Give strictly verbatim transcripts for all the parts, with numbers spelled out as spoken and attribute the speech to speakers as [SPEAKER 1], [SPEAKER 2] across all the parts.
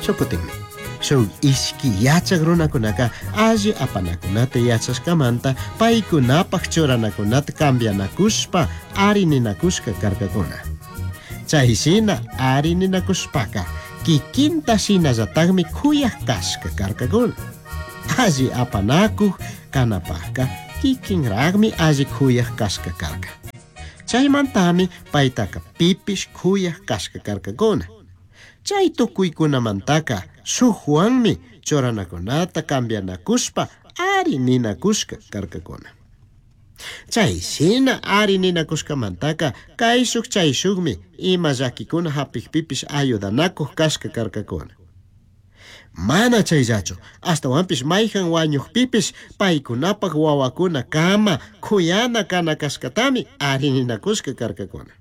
[SPEAKER 1] Shukutinmi. Shuk ishki yachak runakunaka alli apanakunata yachashkamanta paykunapaj churanakunata cambianakushpa arininakushka karkakuna. Chay shina arininakushpaka kikinta shinallatakmi kuyaj kashka karkakuna. Alli apanakuj kanapajka kikinraqmi alli kuyaj kashka karka. Chaymantami paytaka pipish kuyaj kashka karkakuna. Chay tukuykunamantaka shukwanmi churanakunata cambianakushpa ari ninakushka karkakuna. Chay shina ari ninakushkamantaka kayshuk chayshukmi ima llakikuna hapikpipish ayudanakuj kashka karkakuna. Mana chayllachu, ashtawanpish mayjan wañuqpipish paykunapaj wawakuna kama kuyana kana kashkatami ari ninakushka karkakuna.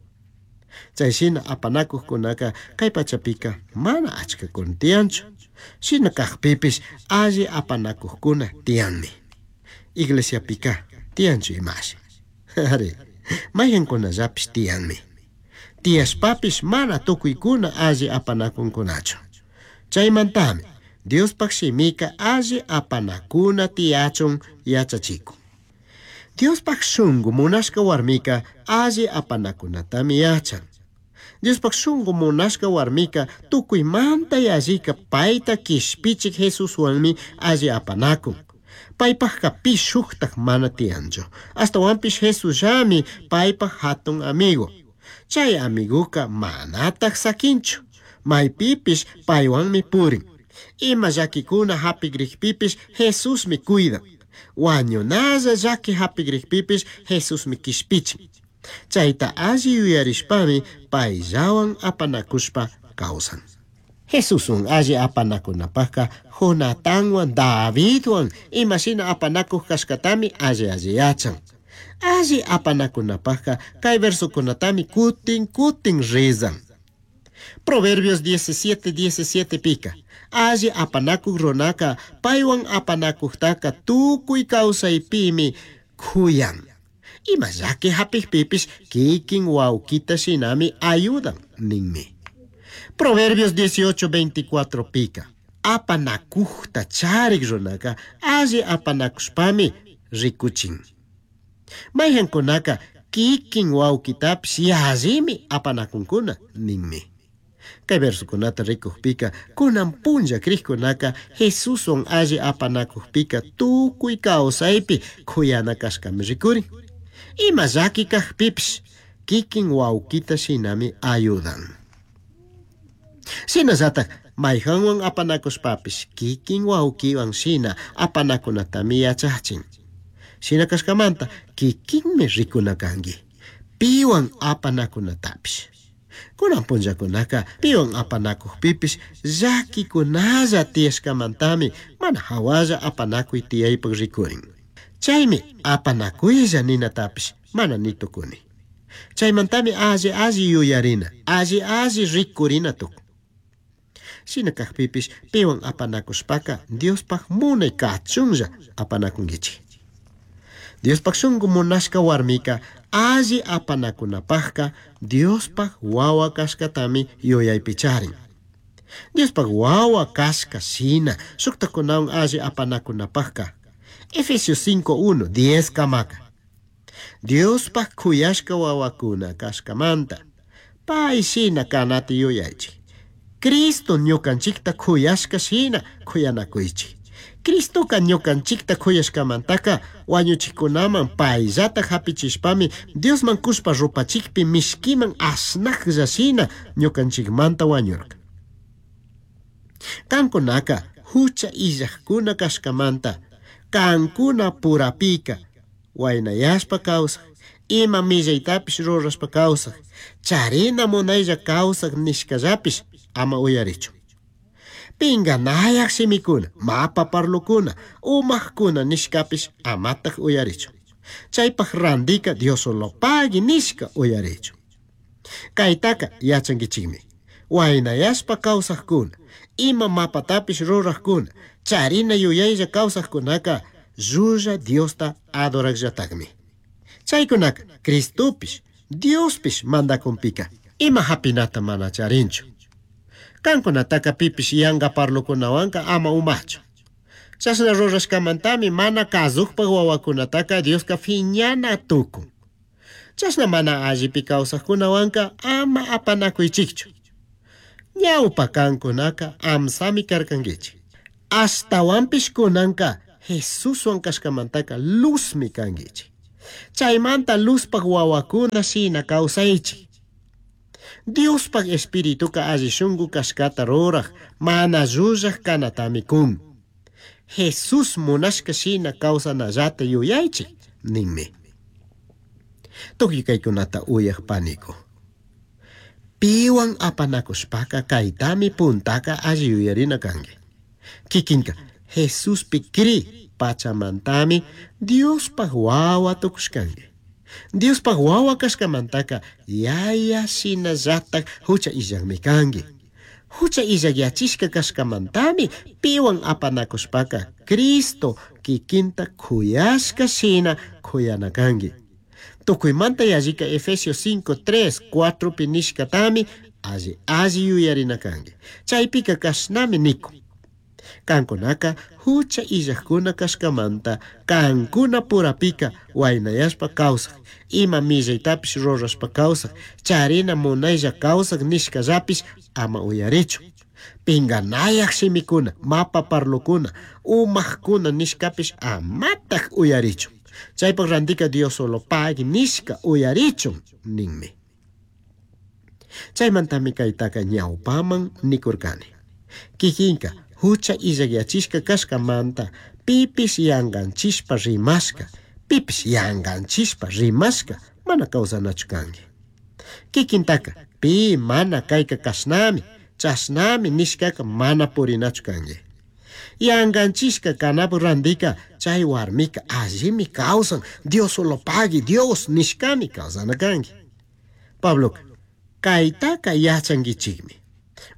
[SPEAKER 1] Chay shina apanakuqkunaka kay pachapika mana achkakuna tiyanchu. Shina kaqpipish alli apanakuqkuna tiyanmi. Iglesiapika tiyanchu imashi. Ari, mayjankunallapish tiyanmi. Tiyashpapish mana tukuykuna alli apanakunkunachu. Chaymantami Diospaj shimika alli apanakuna tiyachun yachachikun. Diospaj shunku munashka warmika alli apanakunatami yachan. Diospaj shunku munashka warmika tukuymanta yallika payta kishpichik Jesuswanmi alli apanakun. Paypajka pi shuktaj mana tiyanchu. Ashtawanpish Jesusllami paypaj hatun amigo. Chay amiguka manataj sakinchu. Maypipish paywanmi purin. Ima llakikuna hapikrikpipish Jesusmi cuidan. Wañunalla llaki hapikrikpipish Jesusmi kishpichin. Chayta alli yuyarishpami payllawan apanakushpa kawsan. Jesuswan alli apanakunapajka Jonatanwan Davidwan imashina apanakuj kashkatami alli alli yachan. Alli apanakunapajka kay versokunatami kutin kutin rezan. Proverbios diecisiete diecisiete pika. Alli apanakuj runaka paywan apanakujtaka tukuy kawsaypimi kuyan. Ima llaki hapikpipish kikin wawkita shinami ayudan ninmi. Proverbios dieciocho veinticuatro pika. Apanakujta charik runaka alli apanakushpami rikuchin. Mayjankunaka kikin wawkitapish yallimi apanakunkuna ninmi. Kay versokunata rikukpika kunan punlla krikkunaka Jesuswan alli apanakukpika tukuy kawsaypi kuyana kashkami rikurin. Ima llaki kajpipish kikin wawkita shinami ayudan. Shinallatak mayjanwan apanakushpapish kikin wawkiwan shina apanakunatami yachachin. Shina kashkamanta kikinmi rikuna kanki piwan apanakunatapish. Kunan punllakunaka piwan apanakukpipish llakikunalla tiyashkamantami mana hawalla apanakuy tiyaypak rikurin. Chaymi apanakuylla ninatapish mana nitukuni. Chaymantami alli alli yuyarina, alli alli rikurina tukun. Shina kajpipish piwan apanakushpaka Diospaj munay kachunlla apanakunkichik. Diospaj shunku munashka warmika alli apanakunapajka Diospaj wawa kashkatami yuyaypi charin. Diospaj wawa kashka shina shuktakunawan alli apanakunapajka Efesios cinco uno diez kamaka. Diospaj kuyashka wawakuna kashkamanta pay shina kanata yuyaychik. Cristo ñukanchikta kuyashka shina kuyanakuychik. Cristoka ñukanchikta kuyashkamantaka wañuchikunaman payllata hapichishpami Diosman kushpa rupachikpi mishkiman asnaklla shina ñukanchikmanta wañurka. Kankunaka hucha illajkuna kashkamanta kankuna purapika waynayashpa kawsaj, ima millaytapish rurashpa kawsaj, charina munaylla kawsaj nishkallapish ama uyarichu. Pinganayaj shimikuna, mapa parlukuna, umajkuna nishkapish amataj uyarichu. Chaypaj randika Diosolopagui nishka uyarichu. Kaytaka yachankichikmi. Waynayashpa kawsajkuna, ima mapatapish rurajkuna, charina yuyaylla kawsajkunaka llulla Diosta adorajllatakmi. Chaykunaka Cristopish, Diospish mandakunpika, ima hapinata mana charinchu. Kankunataka pipish yanga parlokunawanka ama umachu. Chashna rurashkamantami mana kazukpak wawakunataka Dioska fiñana tukun. Chashna mana allipi kawsaqkunawanka ama apanakuychikchu. Ñawpa kankunaka amsami karkankichik. Ashtawanpish kunanka Jesuswan kashkamantaka luzmi kankichik. Chaymanta luzpak wawakuna shina kawsaychik. Diospaj espirituka alli shunku kashkata ruraj, mana llullaj kanatami kun. Jesús munashka shina kawsanallata yuyaychik, ninmi. Tukuy kaykunata uyaj paniku. Piwan apanakushpaka kaytami puntaka alli yuyarina kanki. Kikinka Jesuspi kri pachamantami Diospaj wawa tukushkanki. Diospaj wawa kashkamantaka yaya shinallatak hucha illakmi kanki. Hucha illakyachishka kashkamantami piwan apanakushpaka Cristo kikinta kuyashka shina kuyana kanki. Tukuymanta yallika Efesios cinco, tres, cuatro pi nishkatami alli alli yuyarina kanki. Chaypika kashnami nikun. Kankunaka hucha illakuna kashkamanta kankuna purapika waynayashpa kawsaj, ima millaytapish rurashpa kawsaj, charina munaylla kawsaj nishkallapish ama uyarichu. Pinganayaj shimikuna, mapa parlukuna, umajkuna nishkapish amataj uyarichu. Chaypak randika Dios solo pagui nishka uyarichun ninmi. Chaymantami kaytaka ñawpaman nikurkani. Kikinka hucha illakyachishka kashkamanta pipish yanganchishpa rimashka, pipish yanganchishpa rimashka mana kawsanachu kanki. Kikintaka pi mana kayka kashnami, chashnami nishkaka mana purinachu kanki. Yanganchishka kanapu randika chay warmika allimi kawsan, Dios solo pagui, Dios nishkami kawsana kanki. Pabloka kaytaka yachankichikmi.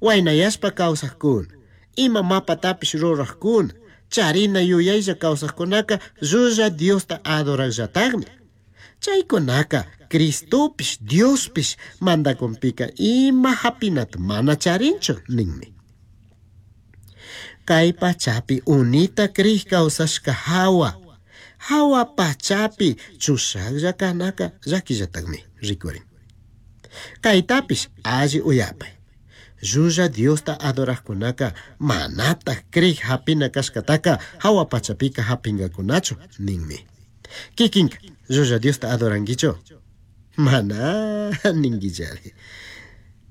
[SPEAKER 1] Waynayashpa kawsaqkuna, ima mapatapish ruraqkuna, charina yuyaylla kawsaqkunaka llulla Diosta adoraqllataqmi. Chaykunaka Cristopish Diospish mandakunpika ima hapinata mana charinchu ninmi. Kay pachapi unita krij kawsashka hawa, hawa pachapi chushaqlla kanaka llakillataqmi rikurin. Kaytapish alli uyapay. Llulla Diosta adoraqkunaka manataq krij hapina kashkataka hawa pachapika hapingakunachu ninmi. Kikinka llulla Diosta adorankichu? Mana ninkichari.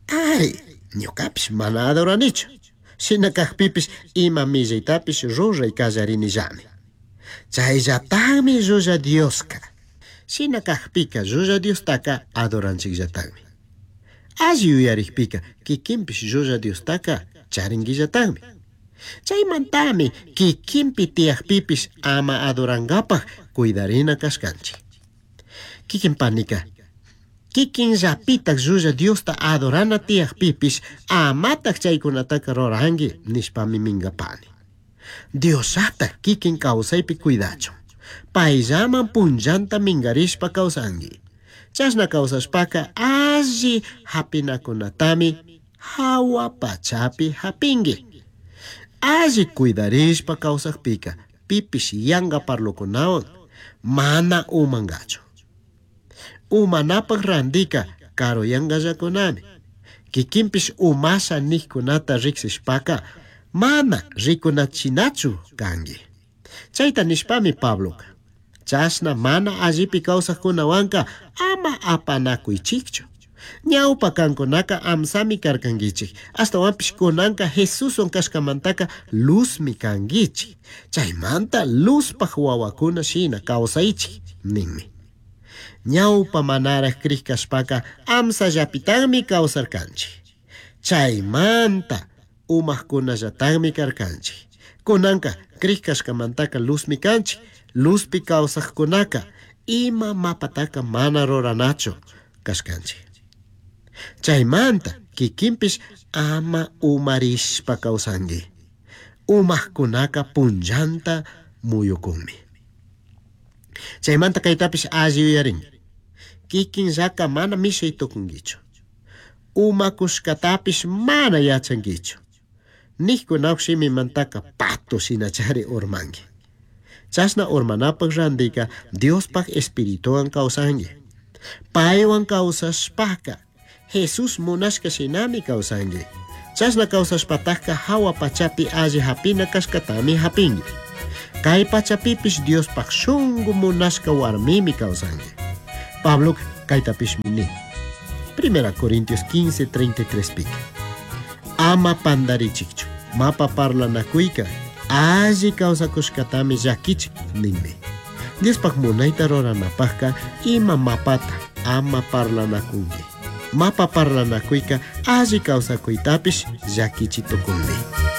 [SPEAKER 1] Ari, ñukapish mana adoranichu. Shina kajpipish ima millaytapish ruray kallarinillami. Chayllataqmi llulla Dioska. Shina kajpika llulla Diostaka adoranchikllataqmi. Alli yuyarikpika kikinpish llulla Diostaka charinkillataqmi. Chaymantami kikinpi tiyakpipish ama adorankapaj cuidarina kashkanchik. Kikin panika, kikinllapitak llulla Diosta adorana tiyakpipish amatak chaykunataka ruranki nishpami minkapani. Diosatak kikin kawsaypi cuidachun. Payllaman punllanta minkarishpa kawsanki. Chashna kawsashpaka alli hapinakunatami hawa pachapi hapinki. Alli cuidarishpa kawsakpika pipish yanka parlokunawan mana umankachu. Umanapak randika karuyankallakunami. Kikinpish umasha nijkunata riksishpaka mana rikunachinachu kanki. Chayta nishpami Pabloka chashna mana allipi kawsaqkunawanka ama apanakuychikchu. Ñawpa kankunaka amsami karkankichik, ashtawanpish kunanka Jesuswan kashkamantaka luzmi kankichik. Chaymanta luzpaj wawakuna shina kawsaychik ninmi. Ñawpa manaraj krij kashpaka amsallapitakmi kawsarkanchik. Chaymanta umajkunallataqmi karkanchik. Kunanka krij kashkamantaka luzmi kanchik. Luzpi kawsaqkunaka ima mapataka mana ruranachu kashkanchik. Chaymanta kikinpish ama umarishpa kawsanki. Umajkunaka punllanta muyukunmi. Chaymanta kaytapish alli yuyarinki. Kikinllaka mana mishay tukunkichu. Umakushkatapish mana yachankichu. Nijkunapak shimimantaka pato shinachari urmanki. Chashna urmanapak randika Diospaj Espirituwan kawsanki. Paywan kawsashpaka Jesús munashka shinami kawsanki. Chashna kawsashpatajka hawa pachapi alli hapina kashkatami hapinki. Kay pachapipish Diospaj shunku munashka warmimi kawsanki. Pablo kaytapishmi nin. Primera Corintios quince, treinta y tres pika. Ama pandarichikchu. Mapa parlanakuyka alli kawsakushkatami llakichik ninmi. Diospaj munayta ruranapajka ima mapata ama parlanakunki. Mapa parlanakuyka alli kawsakuytapish llakichi tukunmi.